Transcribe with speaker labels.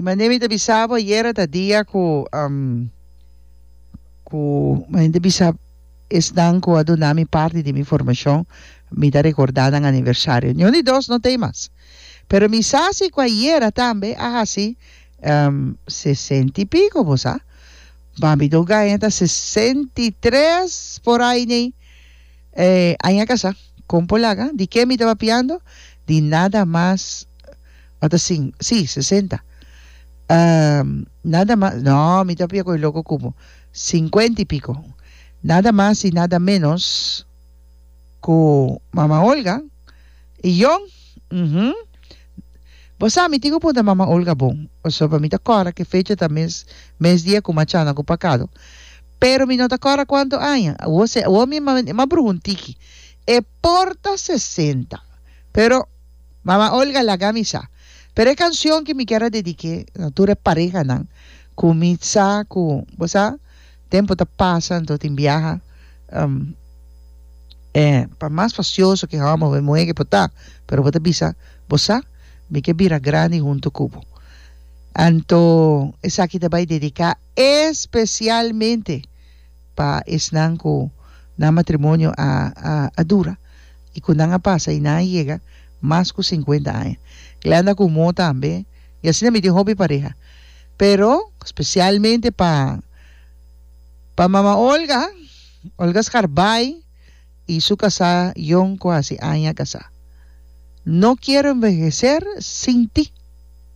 Speaker 1: I manera mi ta bisa bo ayera ta dia ku ku mi ta bisa esnan ku a duna mi parti di mi formashon mi ta rekordá nan aniversario. Niun di dos no ta ei mas. Pero mi sa si ku ayera tambe a hasi sesenta i piko bo sa. Mami do gaña ta 63 por ai nei. Eh, aña kasa, kon por laga? Di ke mi ta papiando? Di nada mas, o ta sin, si, 60. Ehm, nada mas, no, mi ta papia ku e loko ku bo, 50 i piko. Nada mas i nada menos ku Mama Olga i Yon, uhum. Bo sa, mi tin ku puntra Mama Olga bon, pasobra mi ta kòrda ku e fecha ta mes mes dia ku m'a chana ku pakado. Pero mi no ta kòrda kuantu aña. Awor se, awor mi m'a bruha un tiki. E por ta sesenta. Pero, Mama Olga laga mi sa. Pero e kanshon ku mi kier a dedik'é na tur e parehanan ku mi sa ku, bo sa, tempu ta pasa anto tin biaha, E pa mas fastioso ke hòmber òf e muhé ke por ta, pero bo ta bisa, Bo sa, mi ke bira grandi huntu ku bo. Anto esaki ta bai dediká espesialmente pa esnan ku nan matrimonio a a dura i ku nan a pasa i nan a yega mas ku sinkuenta aña. Glenda ku Mo tambe, i asina mi tin hopi pareha. Pero spesialmente pa. Pa mama Olga, Olga Scarbay y su casá Jon cu haci aña casá. No quiero envejecer sin ti.